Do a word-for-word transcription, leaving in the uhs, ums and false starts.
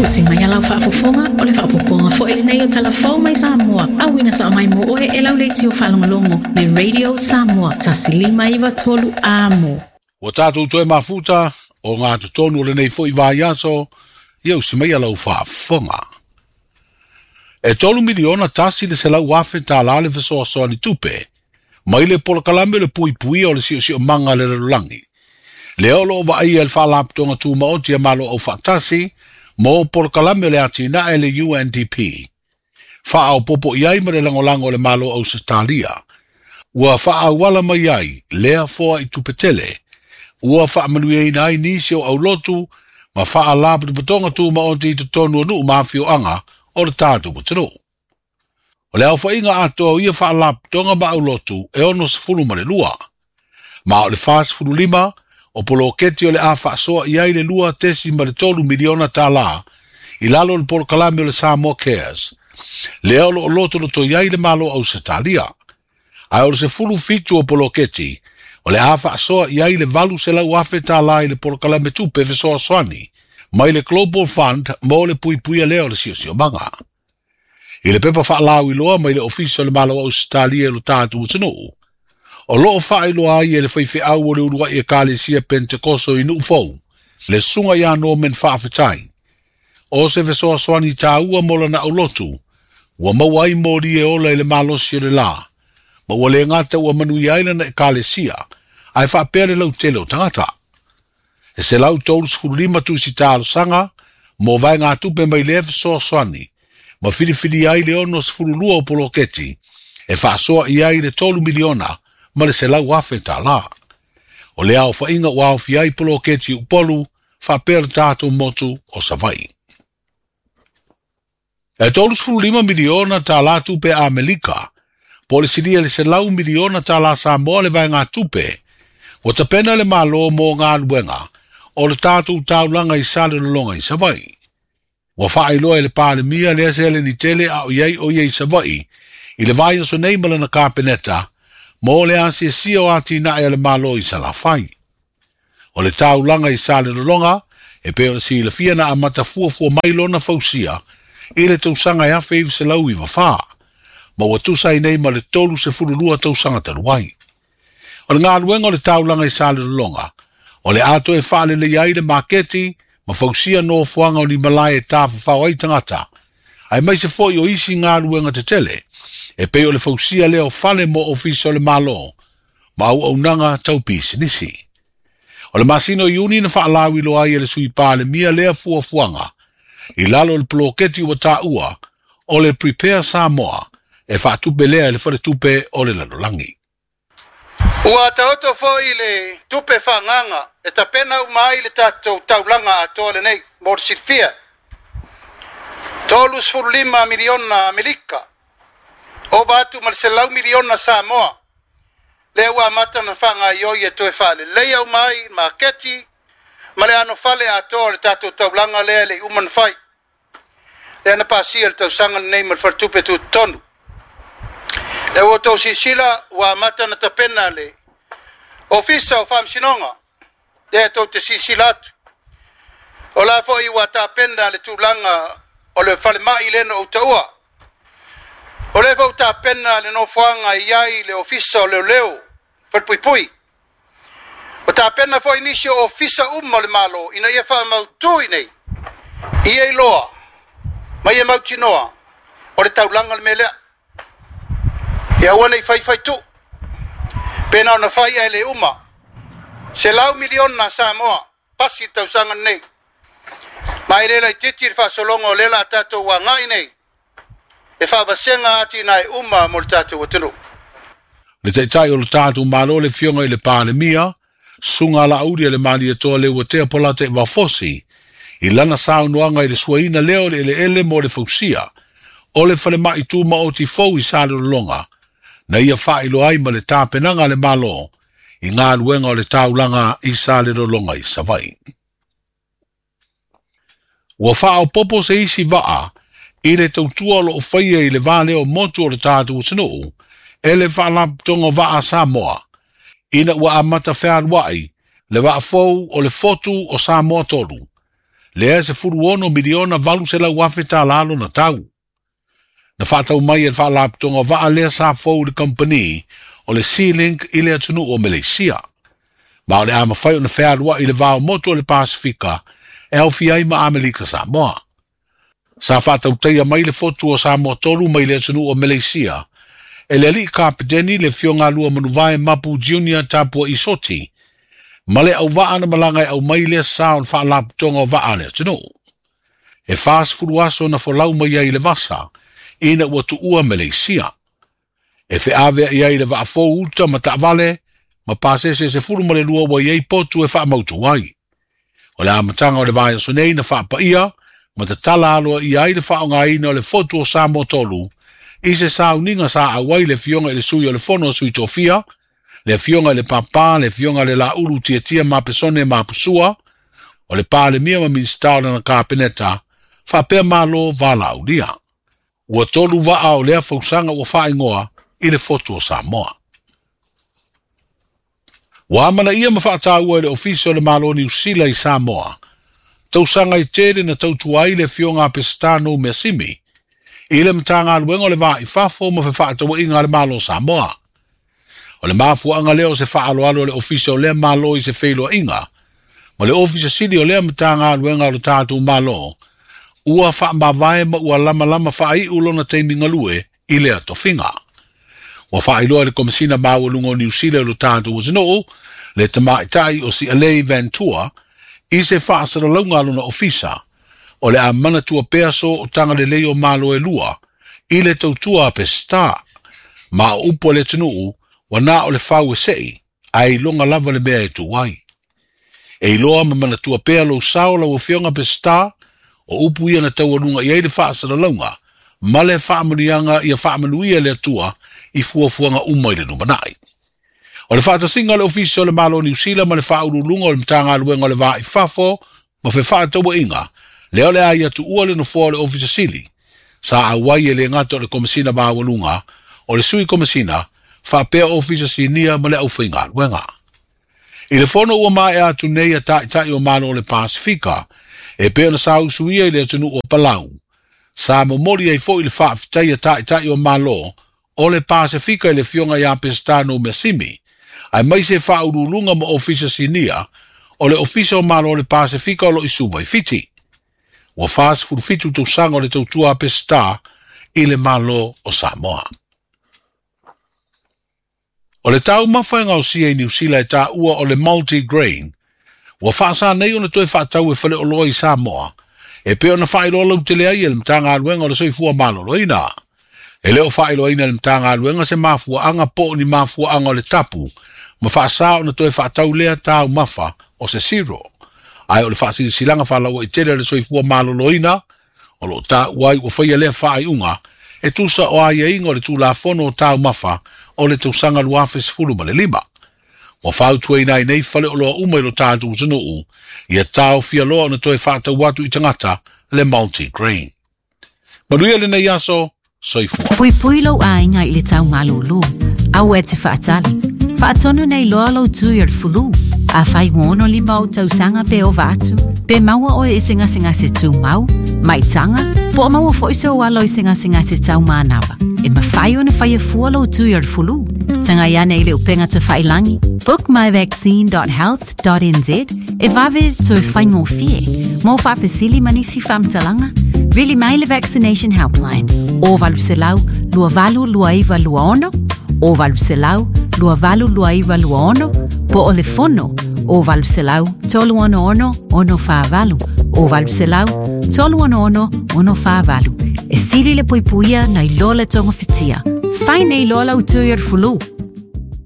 Usi mai a lau faafofoga o le faaopoopoga foi lenei o Talafou mai Samoa. Auina sao mai mo oe e lau leitio faalogologo le Radio Samoa tasi lima iva tolu amo. Ua tatou toe mafuta o ngā totonu o lenei foi vaiaso, ia usi mai a lau faafofoga. E tolu miliona tasi le selau afe tālā le fesoasoani tupe, mai le polokalame le puipuia o le siosiomaga le lalolagi. Lea o loo vaaia le faalapotopotoga tumaoti a Malo Aufaatasi mo polokalame o le atinae le U N D P. Faaopopo i ai ma le lagolago o le Malo Ausetalia. Ua faaauala mai ai lea foa i tupe tele. Ua faamanuiaina ai nisi o aulotu ma faalapotopotoga tumaoti i totonu o nuu ma afioaga o le tatou atunuu. O le aofaiga atoa o ia faalapotopotoga ma aulotu e ono sefulu ma le lua. Ma o le fa sefulu lima o poloketi o le a faasoa i ai le lua tesi ma le tolu miliona tālā i lalo o le polokalame o le Samoa Cares. Lea o loo lotoloto i ai le Malo Ausetalia. Ae o le sefulu fitu o poloketi o le a faasoa i ai le valu selau afe tālā i le polokalame tupe fesoasoani mai le Global Fund mo le puipuia lea o le siosiomaga. I le pepa faalauiloa mai le ofisa o le Malo Ausetalia i lo tatou atunuu. O loo faailoa ai e le faifeau o le uluai ekalesia Pentekoso i Nuufou, le susuga ia Norman Faafetai. O se fesoasoani tāua mo lana aulotu, ua maua ai moli e ola i le malosi o le lā, ma ua le gata ua manuia ai lana ekalesia, ae faapea le lautele o tagata. E selau tolu sefulu lima tusi talosaga mo vaegatupe mai lea fesoasoani, ma filifili ai le ono sefulu lua o poloketi, e faasoa i ai le tolu miliona ma le selau afe tālā. O le aofaiga ua aofia ai poloketi Upolu faapea le tatou motu o Savaii. E tolu sefulu lima miliona tālā tupe Amerika, po o le silia le selau miliona tālā Samoa le vaegatupe, ua tapena le Malo mo galuega o le tatou taulaga i Salelologa i Savaii. Ua faailoa e le Palemia lea seleni tele a o iai o ia i Savaii i le vaiaso nei ma lana kapeneta mo le asiasia o atinae a le Malo i Salafai. O le taulaga i Salelologa e pei ona silafia na amata fuafua mai lona fausia i le tausaga e afe iva selau iva fa, ma ua tusa ai nei ma le tolu sefulu lua tausaga talu ai. O le galuega o le taulaga i Salelologa, o le ato e faalelei ai le maketi ma fausia nofoaga o ni malae e tafafao ai tagata, ae mai se foi o isi galuega tetele, e pei o le fausia lea o fale mo ofisa o le Malo, ma auaunaga tau pisinisi. O le masina o Iuni na faalauiloa ai e le sui Palemia lea fuafuaga, i lalo o le poloketi ua taua o le Prepare Samoa, e faatupe lea e le faletupe o le lalolagi. Ua taoto foi le tupe faaagaga e tapena uma ai le tatou taulaga atoa lenei mo le silafia. Tolu sefulu lima miliona Amerika, ova atu ma le selau miliona Samoa. Lea ua amata na faagaioi e toe faaleleia uma ai maketi ma le anofale atoa o le tatou taulaga lea e le i uma na fai. Lea na pasia le tausaga lenei ma le faletupe tutotonu. E ua outou silasila ua amata na tapena le ofisa o faamasinoga, lea tou te silasila atu. O la foi ua tapena le tulaga o le falemai lea na ou taua. O lea foi tapena le nofoaga i ai le ofisa o leoleo falepuipui. O tapena foi nisi o ofisa uma o le Malo ina ia faamautu i nei, ia iloa ma ia mautinoa o le taulaga le mea lea. Ia aua nei faifai tu, pena ona fai ai le uma, selau miliona Samoa, pasi le tausaga nei. Ma e le laitiiti le faasologa o lea la tatou agai nei, e faavasega atinae uma mo le tatou atunuu. Le taitai o le tatou Malo le fioga i le Palemia, susuga Laauli a le Malietoa Leuatea Polata Vafosi, i lana saunoaga i le suaina lea o le eleele mo le fausia, o le falemai tumaoti fou i Salelologa, na ia faailoa ai ma le tapenaga a le Malo i galuega o le taulaga i Salelologa i Savaii. Ua faaopopo se isi vaa i le tautua o loo faia i le va lea o motu o le tatou atunuu e le faalapotopotoga vaa Samoa, ina ua amata fealuai le vaafou o le fotu o Samoa tolu. Lea se fulu ono miliona valu selau afe tālā lona tau. Na whaatau mai e whaalaputonga waa lea sa fou le company o le Sea-Link i le atunuu o Malaysia. Ma o le a mawhai o na whealua i le vao motu o le Pasifika e au fiai ma Amelika Samoa. Sa whaatau mai le fotu o Samoa tolu mai le atunuu o Malaysia e le alii kapiteni le fionga lua manuvae Mapu Junior Tapua Isoti ma le au waa na malanga e au mai lea sa o le whaalaputonga o waa le atunuu. E whaasifulu aso na folau mai ai le vasa ina ua tuua Malaysia. E wheawea i ai le vaafou uta ma taavale ma pasese se fulu ma le lua ua iai potu e whaamautu ai. O le amatanga o le vaiaso nei na whaapaia ma tatala aloa i ai le whaongaina o le fotu o Samoa tolu i se sauninga sa awai le fionga i le sui o le fono o sui tofia, le fionga i le papa, le fionga i le laulu tiatia ma pesone ma pusua, o le palemia ma minista o lana kapeneta, whaapea malo valaulia. Ua tolu waa o lea fausanga ua whaingoa i le fotu o Samoa. Ua amana ia ma whaataua i le ofisa o le Malo Niu Sila i Samoa. Tausanga i tere na tautua ai le fionga a Pesitano Measimi. I le matanga aluenga o le vaa i fafo ma whaataua inga le Malo Samoa. O le mafuanga leo se whaaloalo o le ofisa o lea malo i se whailoa inga. Ma le ofisa sili o lea matanga aluenga o le tātou malo. Ua whaamavae ma ua lama lama whaai ulona teimi ngalue i lea tofinga. Ua whaailoa le komisina maualunga o Niu Sila o le tātou wazinoo, le tamaitai o si Alei Ventura, i se whaasaralaunga alona ofisa, o le amana tua peaso o tanga le leo malo e lua, i le tautua a Pesita, ma o upo le tunuu, wana o le whau e sei, a i longa lava le mea e tuai. E iloa ma mana tua pea lo sao la wafionga Pesita, o upu ia na taualunga i ai le whaasaralaunga, ma le whaamanuianga ia whaamanuia le atua i fuafuanga uma i le numanai. O le whaatasinga le ofisa o le Malo Niu Sila ma le whaululunga o le matanga aluenga o le vaa i fafo ma fe whaataua inga, leo le ai atu ua le nofoa o le ofisa sili, sa awai e le ngata o le komisina maualunga, o le sui komisina, whaapea ofisa sinia ma le au whainga aluenga. I le fono ua mae atu nei a taitai o Malo o le Pasifika, e pea na sa usuia i le atunu o Palau, sa momori ai fo i le whaaftai a taitai o Malo, o le Pasifika i le fionga ia Pesitano Measimi, ai mai se whaululunga ma ofisa sinia, o le ofisa o Malo o le Pasifika o lo isuva i Fiti. Ua whaasifuru tausaga o le tautua a Pesita i le Malo o Samoa. O le tau mawhainga o sia i Niu Sila e tā ua o le multi-grain, ua whaasa nei o na toe whaatau e whale o loa i Samoa, e peo na whailoa lau tele ai e le matanga aluenga o le soifua maloloina. E leo whailoa ina le matanga aluenga se mafua anga po ni mafua anga o le tapu, ma whaasa o na toe whaatau lea tāu mafa o se siro. Ai o le whaasilisilanga whalaua i tele le soifua maloloina, o lo tā uai ua whaia lea whaaiunga, e tusa o aia inga o le tūlafono o tāu mafa o le tausanga luafe sefulu ma le lima. Ua whautua ina i nei whale o loa uma i lo tātou tunuu, ia tāo fia loa o na toe whaatau atu i tangata le multi-grain. Manuia le nei aso, soifua. Pui pui lau ainga i le tau malolo, au e te whaatali. Whaatonu nei loa lau tui o le fulu. A whai wono lima o tausanga pe o vatu, pe maua oe i singasinga se tū mau, maitanga, po o maua fo iso alo i singasinga se tau mānawa. E mawhai o na whai fua lau tui o le fulu. Tanga iane i le upenga te whailangi. book my vaccine dot health dot n z e vave toe whaingofie. Mō whapesili manisi whamtalanga, vili mai le vaccination helpline. O valu selau, lua valu lua iwa lua ono, o valu selau, lua valu lua iwa lua ono, po o le fono, o valu selau, tolu ono ono, ono whaavalu, o valu selau, tolu ono ono, ono whaavalu. E sili le puipuia na i lola tonga fitia. Whai nei lola utui ar fulu.